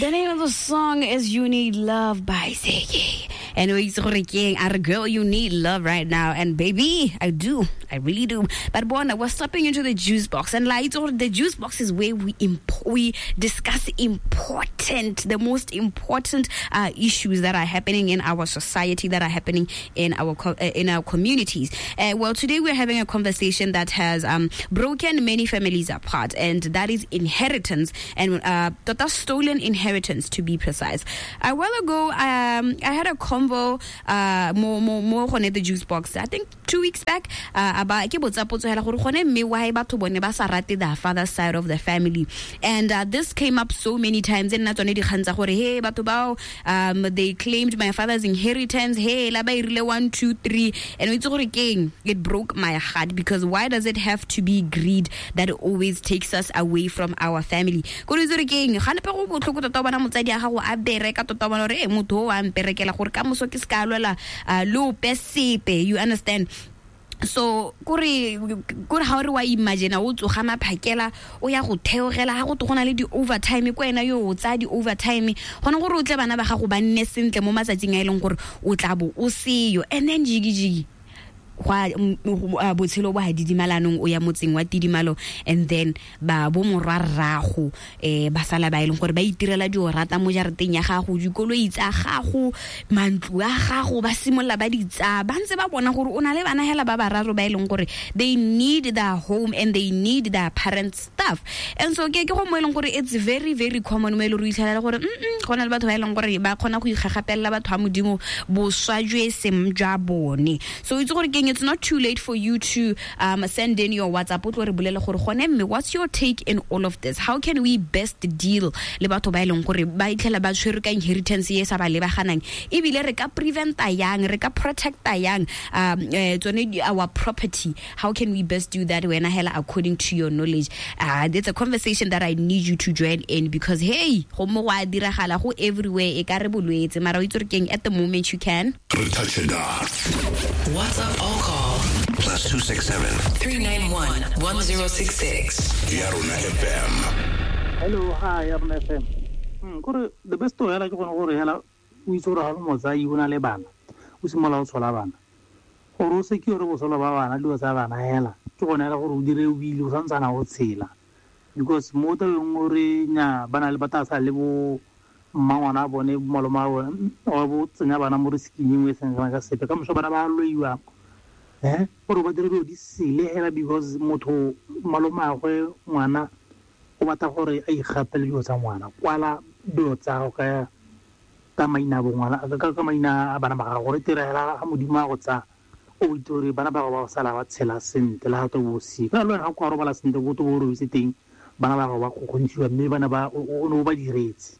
The name of the song is You Need Love by Ziggy. And o itse gore ke eng? A re, girl, you need love right now. And baby, I do. I really do. But bona, we're stepping into the juice box. And la itse gore the juice box is where we discuss important, the most important issues that are happening in our society, that are happening in our communities. Well, today we're having a conversation that has broken many families apart, and that is inheritance and tota stolen inheritance, to be precise. A while ago, I had a convo mo gone the juice box, I think 2 weeks back, about ke botsa potso hela gore gone mme why batho bone ba sa rate the father side of the family. And this came up so many times, and nna tsone dikgang tsa gore, hey, batho bao, they claimed my father's inheritance, hey, la ba irile one two three. And o itse gore keng, it broke my heart, because why does it have to be greed that always takes us away from our family? Kore itse gore keng, ganepe go botlhoko tota o bona motsadi a gago a bereka tota, o bona gore e motho o a mperekela gore ka moso ke se ka lwela le ope sepe, you understand? So kore ga o re wa imagine o tsoga maphakela o ya go theogela ga go to go na le di-overtime ko wena yo o tsaya di-overtime gone gore o tle bana ba gago ba nne sentle mo matsatsing a e leng gore o tla bo o seyo. And then jigi-jigi gwa botshelo bo ha didimalanong, o ya motseng wa tidimalo, and then ba bo morwa rrago ba sala ba e leng gore ba itirela dio rata mo jarateng ya gago, dikoloi tsa gago, mantlo a gago, ba simolola ba di tsaya ba ntse ba bona gore o na le bana hela ba bararo ba e leng gore they need their home and they need their parents' stuff. And so ke go mo e leng gore it's very, very common mo e leng gore o itlhelela gore go na le batho ba e leng gore ba kgona go ikgagapelela batho ba Modimo boswa jo e seng jwa bone. So itse gore keng, it's not too late for you to send in your WhatsApp, o tlo re bolele gore gone mme what's your take in all of this? How can we best deal le batho ba e leng gore ba itlhela ba tshwerwe ka inheritance e sa ba lebaganang? Ebile re ka preventa yang, re ka protecta yang tsone our property? How can we best do that, wena hela according to your knowledge? It's a conversation that I need you to join in, because hey, go mo go a diragala go everywhere, e ka re bolwetse, mara o itse gore keng, at the moment you can Re touch it up. WhatsApp or call +267 391 1066. Ya Rona FM. Hello, hi, Ya Rona FM. Kore the best way hela ke gone gore hela o itse gore ga o le motsadi o na le bana, o simolola o tshola bana gore o secure botshelo ba bana, dilo tsa bana hela ke gone hela gore o dire will o santsana o tshela, because mo tabeng gore nya ba na le ba tla sa le bo mmangwana a bone, malome a bone, wa bo tsenya bana mo risking engwe e seng kana ka sepe. Ka moso bana ba loiwa gore ba dire dilo di sele hela, because motho malomagwe ngwana o batla gore a ikgapele dilo tsa ngwana. Kwala dilo tsa gago ka maina a bo ngwana, ka maina a bana ba gago, gore tira hela ga Modimo a go tsaya, o itse gore bana ba gago ba go sala ba tshela sentle le ga to bo siko le wena ga kwa robala sentle, bo to bo robetse teng, bana ba gago ba kgokgontshiwa, mme bana ba o ne o ba diretse.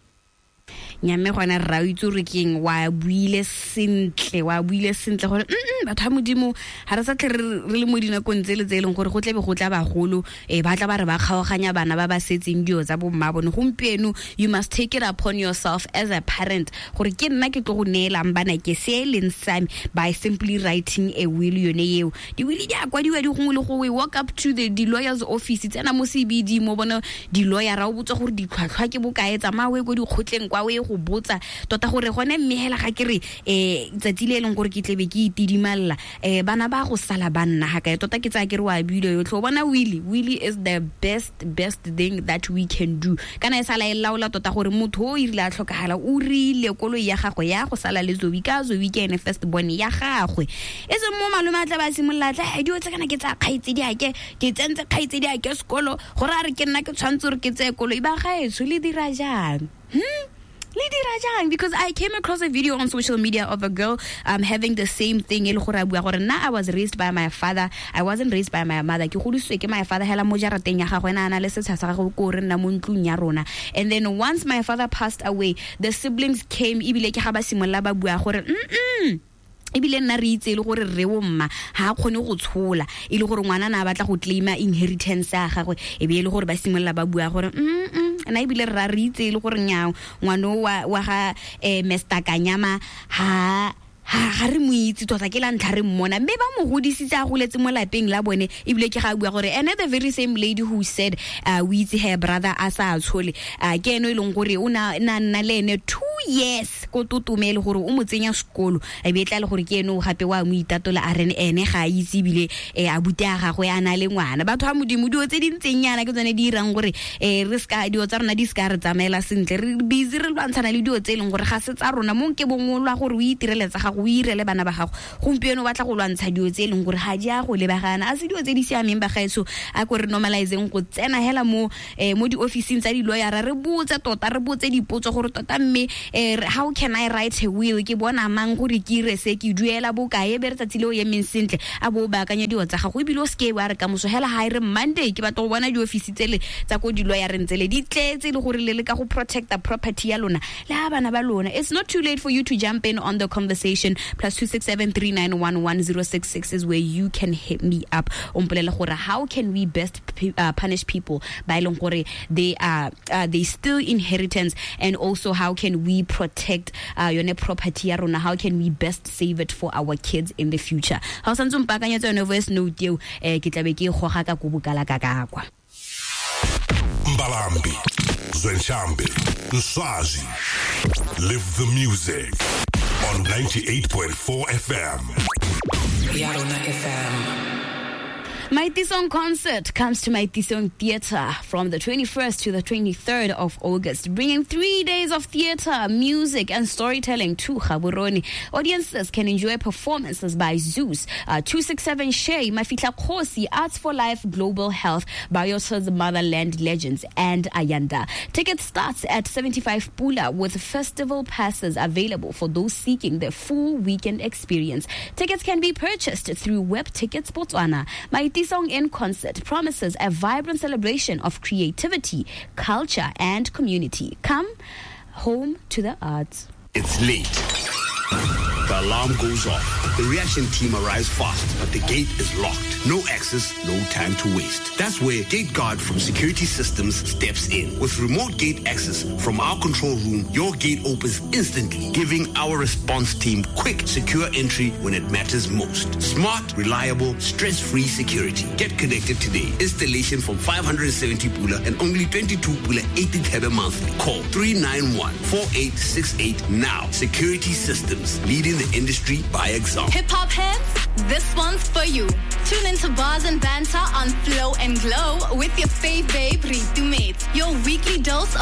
Nyamme gona rra, o itse gore keng, wa buile sentle, wa buile sentle gore batho ba Modimo ga re sa tlhe re le mo dinakong tse le tse e leng gore go tlebe go tla bagolo ba tla ba re ba kgaoganya bana ba ba setseng dio tsa bomma bone. Gompieno you must take it upon yourself as a parent gore ke nna ke tlo go neelang bana ke se e leng same by simply writing a will. Yone eo di-will di a kwadiwa di gongwe le gongwe. Walk up to the lawyer's office, tsena mo CBD mo bone di-lawyera, o botsa gore ditlhwatlhwa ke bokae, tsamaya o ye ko dikgotleng kwa o ye go botsa tota gore gone mme hela ga ke re tsatsi le e leng gore ke tlebe ke itidimalela bana ba go sala ba nna ga kae tota. Ke tsaya ke re wa buile yotlhe. O bona, will is the best thing that we can do, kana e sala e laola tota gore motho o irile a tlhokagala, o rile koloi ya gagwe ya go sala le Zoe, ka Zoe ke ene first born ya gagwe, e seng mo malome a tla ba simolola tla dio tse kana ke tsa kgaitsedi ake, ke tsentse kgaitsedi ake sekolo, gore a re ke nna ke tshwanetse gore ke tseye koloi. Ba gaetsho, le dira jang? Le dira jang? Because I came across a video on social media of a girl having the same thing, e le gore a bua gore nna I was raised by my father, I wasn't raised by my mother, ke godisitswe ke my father hela mo jarateng ya gagwe, ena a na le setsha sa gagwe ko re nna mo ntlong ya rona. And then once my father passed away, the siblings came, ebile ke ga ba simolola ba bua gore ebile nna re itse e le gore rre wo mma ga a kgone go tshola, e le gore ngwana na a batla go claima inheritance ya gagwe, e be e le gore ba simolola ba bua gore nna ebile rra re itse e le gore nyao ngwana o wa ga Mr Kanyama ha Ga re mo itse tota, ke la ntlha re mmona, mme ba mo godisitse a goletse mo lapeng la bone. Ebile ke ga bua gore ene the very same lady who said o itse her brother a sa tshole, ke ene e leng gore o na nna le ene 2 years ko Tutume, le gore o mo tsenya sekolo, e be tla le gore ke ene o gape wa mo itatola, a re ene ga a itse ebile a bute a gagwe a na le ngwana. Batho ba Modimo, dilo tse di ntseng yana ke tsone di irang gore re ska dilo tsa rona di ska re tsamaela sentle. Re busy re lwantshana le dilo tse e leng gore ga se tsa rona. Mo nke bongwe lwa gore o itirele tsa gago, o irele bana ba gago, gompieno o batla go lwantsha dilo tse e leng gore ga di a go lebagana, a se dilo tse di siameng. Bagaetsho, a ko re normalizeng go tsena hela mo di-officing tsa di-lawyera, re botse tota, re botse dipotso gore tota mme how can I write a will, ke bona mang gore ke ire se, ke duela bokae, be re tsatsi le o emeng sentle a bo o baakanya dilo tsa gago. Ebile o seke wa re kamoso hela ga e re Monday ke batla go bona di-office tsele tsa ko di-lawyereng tsele di tletse, le gore le leka go protecta property ya lona le ga bana ba lona. It's not too late for you to jump in on the conversation. +267 391 1066 is where you can hit me up. O mpolele gore how can we best punish people ba e leng gore they are they steal inheritance, and also how can we protect yone property ya rona, how can we best save it for our kids in the future. Ga o santse o mpaakanyetsa yone voice note eo, ke tlabe ke e goga ka ko bokala ka kakwa. Mbalambi, Zwenshambi, Nswazi. Live the music on 98.4 FM. Yarona FM. Maitisong Concert comes to Maitisong Theatre from the 21st to the 23rd of August, bringing 3 days of theatre, music and storytelling to Gaborone. Audiences can enjoy performances by Zeus, 267 Shay, Mafitla Khosi, Arts for Life, Global Health, Biosa's Motherland Legends and Ayanda. Ticket starts at 75 Pula, with festival passes available for those seeking the full weekend experience. Tickets can be purchased through Web Tickets Botswana. Maitisong in Concert promises a vibrant celebration of creativity, culture, and community. Come home to the arts. It's late. The alarm goes off. The reaction team arrives fast, but the gate is locked. No access, no time to waste. That's where Gate Guard from Security Systems steps in. With remote gate access from our control room, your gate opens instantly, giving our response team quick, secure entry when it matters most. Smart, reliable, stress-free security. Get connected today. Installation from 570 Pula and only 22 Pula 80 Thebe monthly. Call 391-4868 now. Security Systems, leading the industry by example. Hip hop heads, this one's for you. Tune into Bars and Banter on Flow and Glow with your fave babe Ritu Mates. Your weekly dose of